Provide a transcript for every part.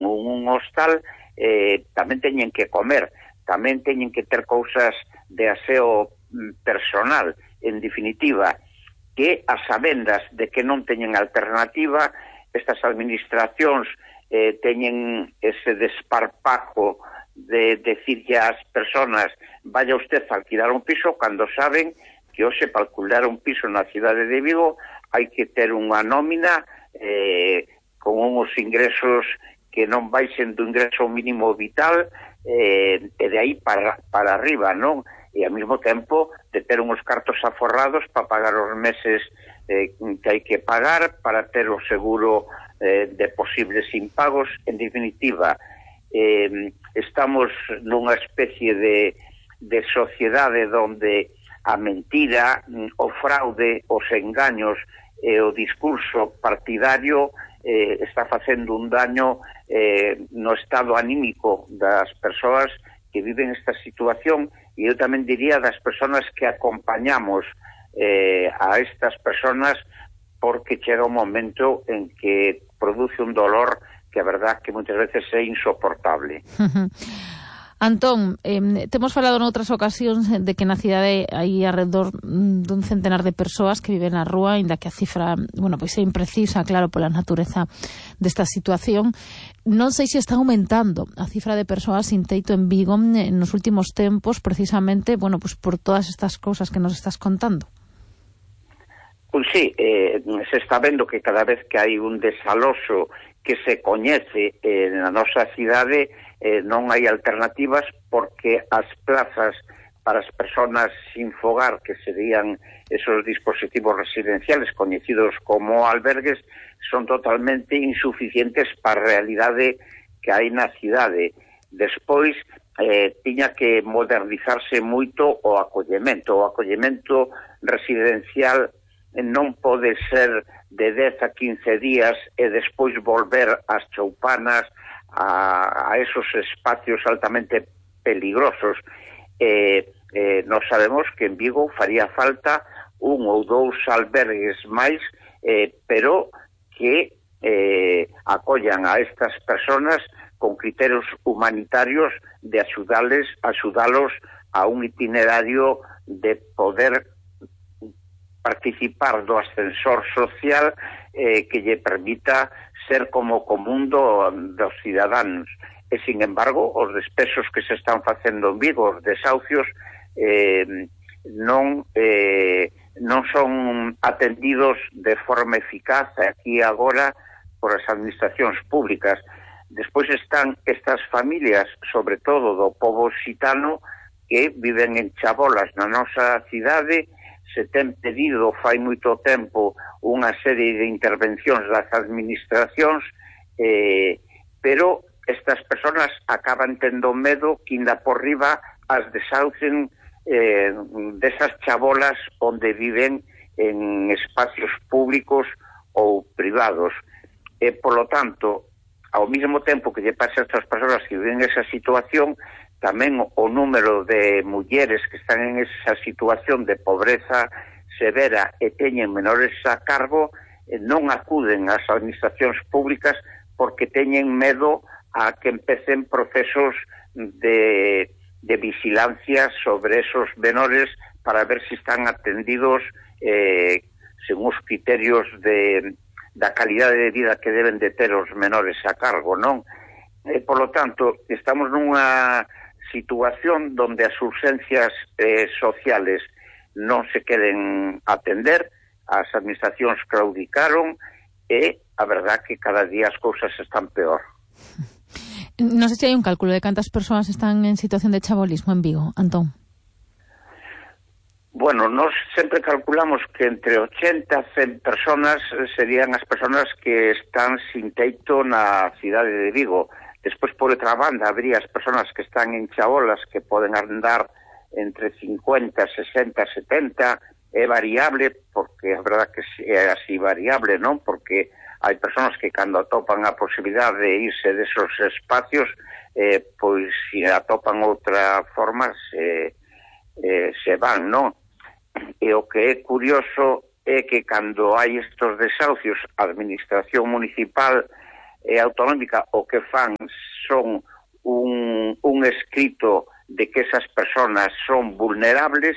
un hostal tamén teñen que comer, tamén teñen que ter cousas de aseo personal. En definitiva, que as sabendas de que non teñen alternativa, estas administracións teñen ese desparpajo de decirlle ás personas vaya usted a alquilar un piso, cando saben que hoxe para alquilar un piso na cidade de Vigo hai que ter unha nómina con uns ingresos que non baixen do ingreso mínimo vital e de aí para arriba, non? E ao mesmo tempo de ter uns cartos aforrados para pagar os meses que hai que pagar, para ter o seguro de posibles impagos. En definitiva, estamos nunha especie de sociedade onde a mentira, o fraude, os engaños e o discurso partidario está facendo un daño no estado anímico das persoas que viven esta situación, e eu tamén diría das persoas que acompañamos a estas persoas, porque chega un momento en que produce un dolor que a verdad que moitas veces é insoportable. Antón, temos falado noutras ocasións de que na cidade hai alrededor dun centenar de persoas que viven na rúa, inda que a cifra, pois é imprecisa, claro, pola natureza desta situación. Non sei se está aumentando a cifra de persoas sin teito en Vigo nos últimos tempos, precisamente, pois por todas estas cousas que nos estás contando. Pois sí, se está vendo que cada vez que hai un desaloxo que se coñece na nosa cidade, non hai alternativas, porque as plazas para as persoas sin fogar, que serían esos dispositivos residenciales coñecidos como albergues, son totalmente insuficientes para a realidade que hai na cidade. Despois, tiña que modernizarse moito o acollemento. O acollemento residencial non pode ser de 10 a 15 días e despois volver ás choupanas, a esos espacios altamente peligrosos. Nós sabemos que en Vigo faría falta un ou dous albergues máis, pero que acollan a estas persoas con criterios humanitarios de axudalos a un itinerario de poder participar do ascensor social que lle permita ser como común dos cidadáns. E, sin embargo, os despesos que se están facendo en Vigo, os desahucios, non son atendidos de forma eficaz aquí agora por as administracións públicas. Despois están estas familias, sobre todo do pobo xitano, que viven en chabolas na nosa cidade. Se ten pedido fai moito tempo unha serie de intervencións das administracións, pero estas persoas acaban tendo medo que inda por riba as desaucen desas chabolas onde viven en espacios públicos ou privados. E, polo tanto, ao mesmo tempo que lle pasa a estas persoas que viven esa situación, tamén o número de mulleres que están en esa situación de pobreza severa e teñen menores a cargo non acuden ás administracións públicas porque teñen medo a que empecen procesos de vigilancia sobre esos menores para ver se están atendidos según os criterios da calidade de vida que deben de ter os menores a cargo, non? Por lo tanto, estamos nunha situación donde as urgencias sociales non se queren atender, as administracións claudicaron e a verdad que cada día as cousas están peor. Non sei se hai un cálculo de cantas persoas están en situación de chabolismo en Vigo, Antón. Bueno, nós sempre calculamos que entre 80 a 100 personas serían as personas que están sin teito na cidade de Vigo. Despois, por outra banda, habría as persoas que están en chabolas que poden andar entre 50, 60, 70. É variable, porque a verdad que é así variable, non? Porque hai persoas que cando atopan a posibilidade de irse desos espacios, pois se atopan outra forma se van, non? E o que é curioso é que cando hai estos desahucios, a administración municipal autonómica o que fan son un escrito de que esas personas son vulnerables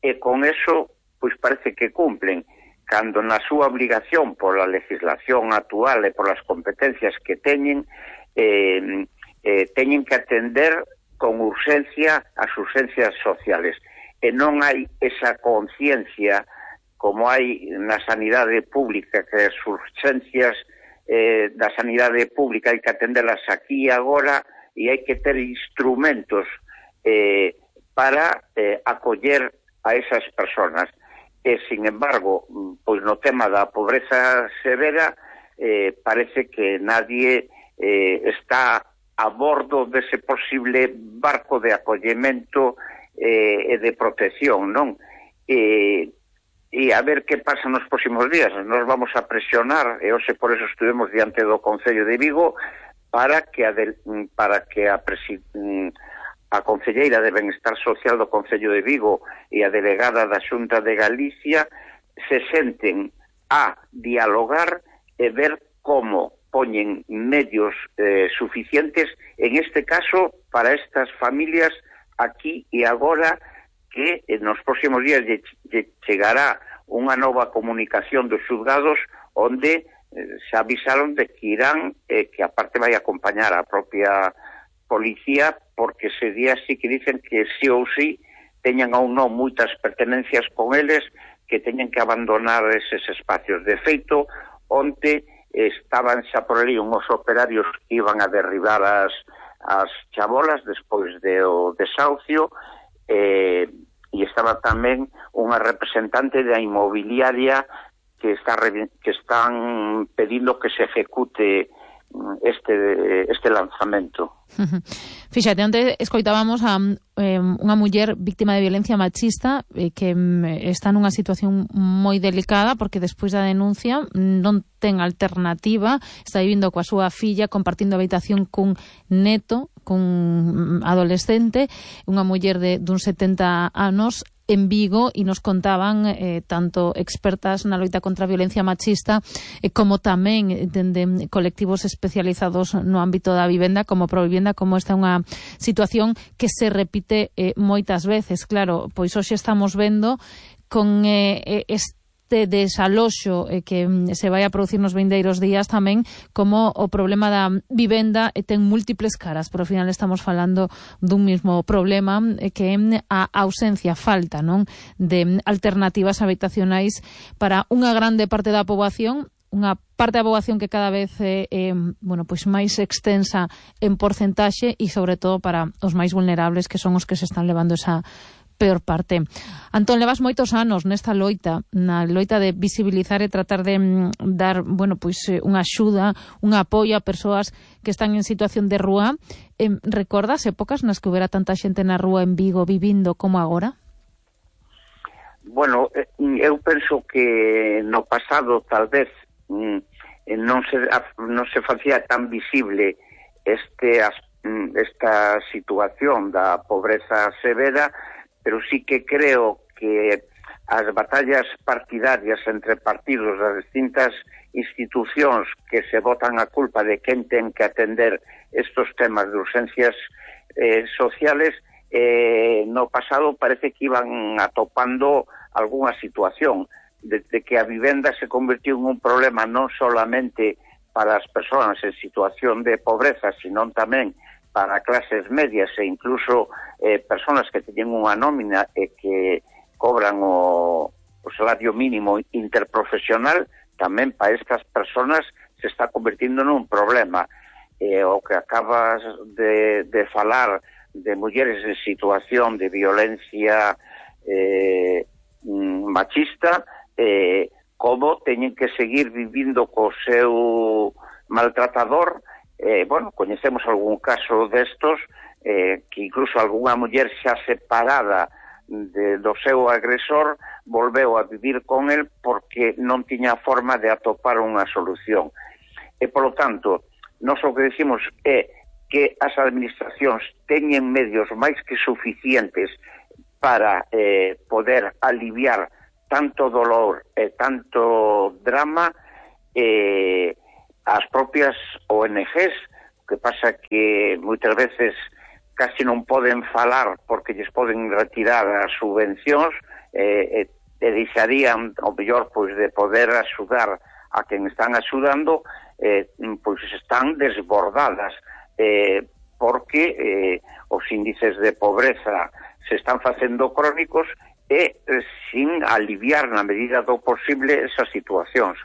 e con eso pois parece que cumplen, cando na súa obligación pola legislación actual e polas competencias que teñen teñen que atender con urxencia as urxencias sociales e non hai esa conciencia como hai na sanidade pública, que as urxencias da sanidade pública hai que atendelas aquí e agora e hai que ter instrumentos para acoller a esas personas. E, sin embargo, pois no tema da pobreza severa parece que nadie está a bordo dese posible barco de acollemento e de protección, non? E a ver que pasa nos próximos días. Nos vamos a presionar, e hoxe por eso estuvemos diante do Concello de Vigo para que a Concelleira de Benestar Social do Concello de Vigo e a delegada da Xunta de Galicia se senten a dialogar e ver como poñen medios suficientes, en este caso, para estas familias aquí e agora, que nos próximos días chegará unha nova comunicación dos xulgados onde se avisaron de que irán, que aparte vai acompañar a propia policía, porque ese día sí que dicen que sí ou sí teñan ou non moitas pertenencias con eles, que teñen que abandonar eses espacios. De feito, onte estaban xa por ali unhos operarios que iban a derribar as chabolas despois do desahucio, e estaba tamén unha representante da inmobiliaria que están pedindo que se ejecute este lanzamento. Fíxate, onte escoitábamos a unha muller víctima de violencia machista que está nunha situación moi delicada porque despois da denuncia non ten alternativa, está vivindo coa súa filla, compartindo habitación cun neto, cun adolescente, unha muller duns 70 anos en Vigo, e nos contaban tanto expertas na loita contra a violencia machista como tamén dende colectivos especializados no ámbito da vivenda como Provivenda, como esta é unha situación que se repite moitas veces. Claro, pois hoxe estamos vendo con este desaloxo que se vai a producir nos vindeiros días tamén como o problema da vivenda ten múltiples caras, pero ao final estamos falando dun mismo problema que é a ausencia, falta, non, de alternativas habitacionais para unha grande parte da poboación, unha parte da poboación que cada vez é pois máis extensa en porcentaxe e sobre todo para os máis vulnerables, que son os que se están levando esa peor parte. Antón, levas moitos anos nesta loita, na loita de visibilizar e tratar de dar, unha axuda, un apoio a persoas que están en situación de rúa. Recordas épocas nas que houbera tanta xente na rúa en Vigo vivindo como agora? Bueno, eu penso que no pasado tal vez non se facía tan visible esta situación da pobreza severa, pero sí que creo que as batallas partidarias entre partidos das distintas institucións que se botan a culpa de quen ten que atender estos temas de urxencias sociales, no pasado parece que iban atopando algunha situación, desde que a vivenda se convirtió en un problema non solamente para as persoas en situación de pobreza, sino tamén para clases medias e incluso personas que teñen unha nómina e que cobran o salario mínimo interprofesional, tamén para estas personas se está convirtiendo nun problema. O que acabas de falar de mulleres en situación de violencia machista, como teñen que seguir vivindo co seu maltratador. Coñecemos algún caso destos, que incluso algunha muller xa separada do seu agresor volveu a vivir con el porque non tiña forma de atopar unha solución. E, polo tanto, nós o que decimos é que as administracións teñen medios máis que suficientes para poder aliviar tanto dolor e tanto drama, as propias ONGs, que pasa que moitas veces casi non poden falar porque lles poden retirar as subvencións, e deixarían o mellor pois de poder axudar a quen están axudando, pois están desbordadas, porque os índices de pobreza se están facendo crónicos e sin aliviar na medida do posible esas situacións.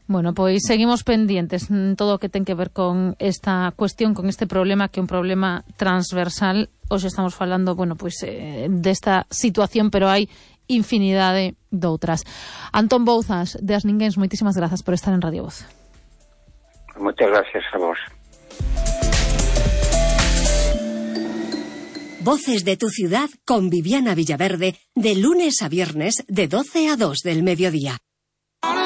Bueno, pois seguimos pendientes en todo o que ten que ver con esta cuestión, con este problema, que é un problema transversal. Hoxe estamos falando, bueno, pois desta situación, pero hai infinidade doutras. Antón Bouzas, de As Ninguéns, moitísimas grazas por estar en Radio Voz. Moitas gracias a vos. Voces de tu ciudad con Viviana Villaverde, de lunes a viernes de 12 a 2 del mediodía.